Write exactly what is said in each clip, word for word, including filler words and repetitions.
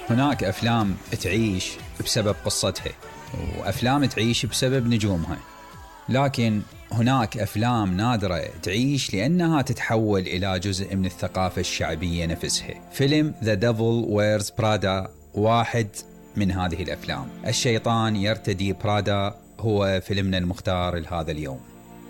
هناك أفلام تعيش بسبب قصتها، وأفلام تعيش بسبب نجومها، لكن هناك أفلام نادرة تعيش لأنها تتحول إلى جزء من الثقافة الشعبية نفسها. فيلم The Devil Wears Prada واحد من هذه الأفلام. الشيطان يرتدي برادا هو فيلمنا المختار لهذا اليوم.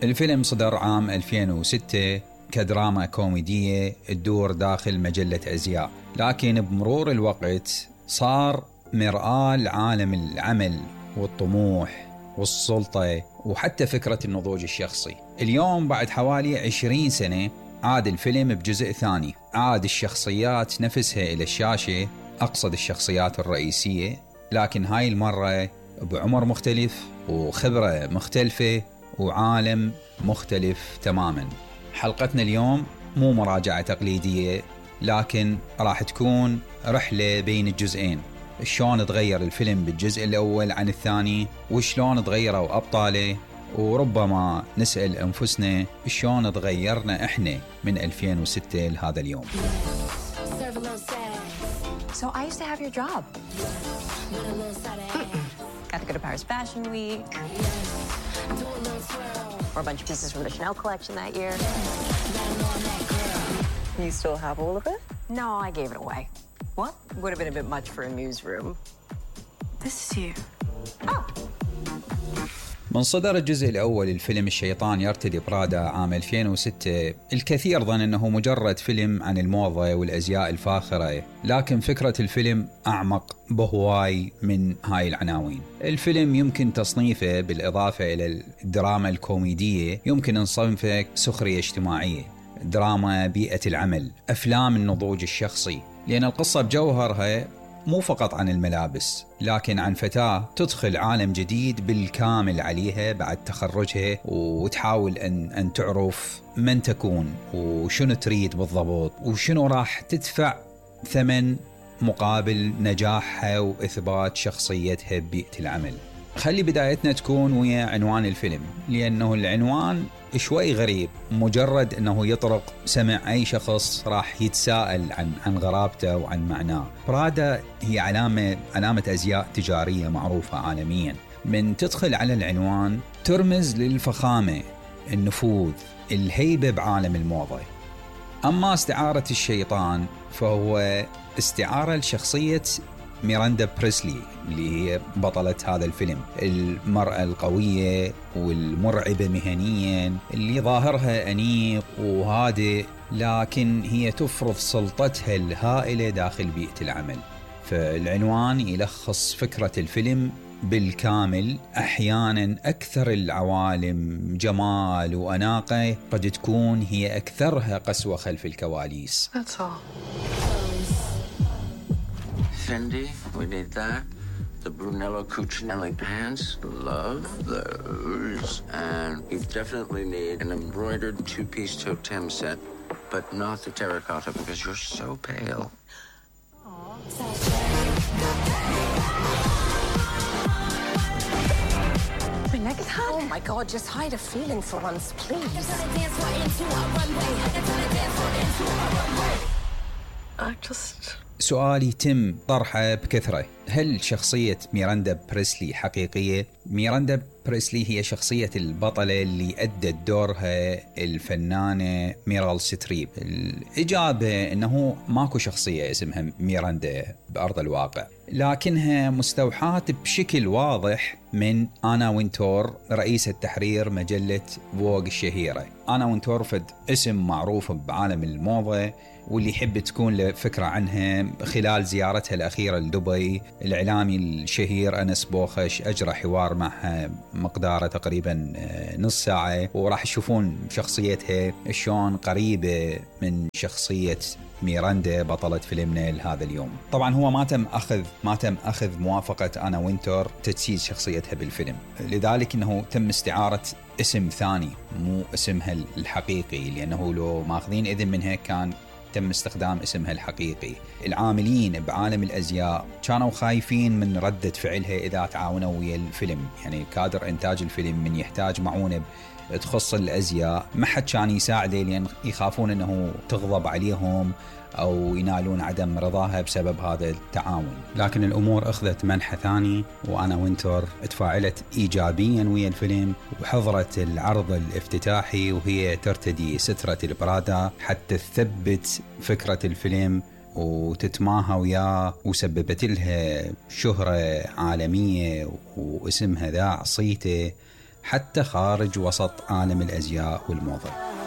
الفيلم صدر عام ألفين وستة كدراما كوميدية تدور داخل مجلة أزياء، لكن بمرور الوقت صار مرآة لعالم العمل والطموح والسلطة وحتى فكرة النضوج الشخصي. اليوم بعد حوالي عشرين سنة عاد الفيلم بجزء ثاني، عاد الشخصيات نفسها إلى الشاشة، أقصد الشخصيات الرئيسية، لكن هاي المرة بعمر مختلف وخبرة مختلفة وعالم مختلف تماما. حلقتنا اليوم مو مراجعة تقليدية، لكن راح تكون رحلة بين الجزئين. شلون تغير الفيلم بالجزء الأول عن الثاني، وشلون تغيروا أبطاله، وربما نسأل أنفسنا شلون تغيرنا إحنا من ألفين وستة لهذا اليوم. So I used to have your job. Got to go to Paris Fashion Week. Or a bunch of pieces from the Chanel collection that year. You still have all of it? No, I gave it away. What? Would have been a bit much for a newsroom. This is you. Oh. من صدر الجزء الأول الفيلم الشيطان يرتدي برادا عام ألفين وستة، الكثير ظن أنه مجرد فيلم عن الموضة والأزياء الفاخرة، لكن فكرة الفيلم أعمق بهواي من هاي العناوين. الفيلم يمكن تصنيفه بالإضافة إلى الدراما الكوميدية، يمكن نصنفه سخرية اجتماعية، دراما بيئة العمل، أفلام النضوج الشخصي، لأن القصة بجوهرها مو فقط عن الملابس، لكن عن فتاة تدخل عالم جديد بالكامل عليها بعد تخرجها، وتحاول أن, أن تعرف من تكون وشنو تريد بالضبط، وشنو راح تدفع ثمن مقابل نجاحها وإثبات شخصيتها ببيئة العمل. خلي بدايتنا تكون ويا عنوان الفيلم، لأنه العنوان شوي غريب، مجرد أنه يطرق سمع أي شخص راح يتساءل عن عن غرابته وعن معناه. برادا هي علامة علامة أزياء تجارية معروفة عالميا. من تدخل على العنوان ترمز للفخامة، النفوذ، الهيبة بعالم الموضة. أما استعارة الشيطان فهو استعارة لشخصية ميراندا بريسلي اللي هي بطلة هذا الفيلم، المرأة القوية والمرعبة مهنيا اللي ظاهرها أنيق وهادئ، لكن هي تفرض سلطتها الهائلة داخل بيئة العمل. فالعنوان يلخص فكرة الفيلم بالكامل. أحيانا أكثر العوالم جمال وأناقة قد تكون هي أكثرها قسوة خلف الكواليس. That's all. Fendi, we need that. The Brunello Cucinelli pants, love those. And you definitely need an embroidered two-piece totem set, but not the terracotta because you're so pale. My neck is hot. Oh my God, just hide a feeling for once, please. I just... سؤال يتم طرحه بكثرة، هل شخصية ميراندا بريسلي حقيقية؟ ميراندا بريسلي هي شخصية البطلة اللي أدت دورها الفنانة ميرال ستريب. الإجابة أنه ماكو شخصية اسمها ميراندا بأرض الواقع، لكنها مستوحاة بشكل واضح من آنا وينتور، رئيسة تحرير مجلة فوغ الشهيرة. آنا وينتور فد اسم معروف بعالم الموضة، واللي يحب تكون له فكرة عنها خلال زيارتها الأخيرة لدبي. الإعلامي الشهير أنس بوخش أجرى حوار معها مقداره تقريبا نص ساعة، وراح تشوفون شخصيتها شلون قريبة من شخصية ميراندا بطلة فيلمنا لهذا اليوم. طبعا هو ما تم أخذ ما تم أخذ موافقة آنا وينتور تجسيد شخصيتها بالفيلم، لذلك أنه تم استعارة اسم ثاني مو اسمها الحقيقي، لأنه لو ماخذين إذن منها كان تم استخدام اسمها الحقيقي. العاملين بعالم الأزياء كانوا خايفين من ردة فعلها إذا تعاونوا ويا الفيلم، يعني كادر إنتاج الفيلم من يحتاج معونة تخص الأزياء ما حد كان يساعده، لأن يخافون أنه تغضب عليهم أو ينالون عدم رضاها بسبب هذا التعاون. لكن الأمور أخذت منحى ثاني، وأنا وينتور تفاعلت إيجابيا ويا الفيلم وحضرت العرض الافتتاحي وهي ترتدي سترة البرادا حتى تثبت فكرة الفيلم وتتماهى وياه، وسببت لها شهرة عالمية واسمها ذاع صيته حتى خارج وسط عالم الأزياء والموضة.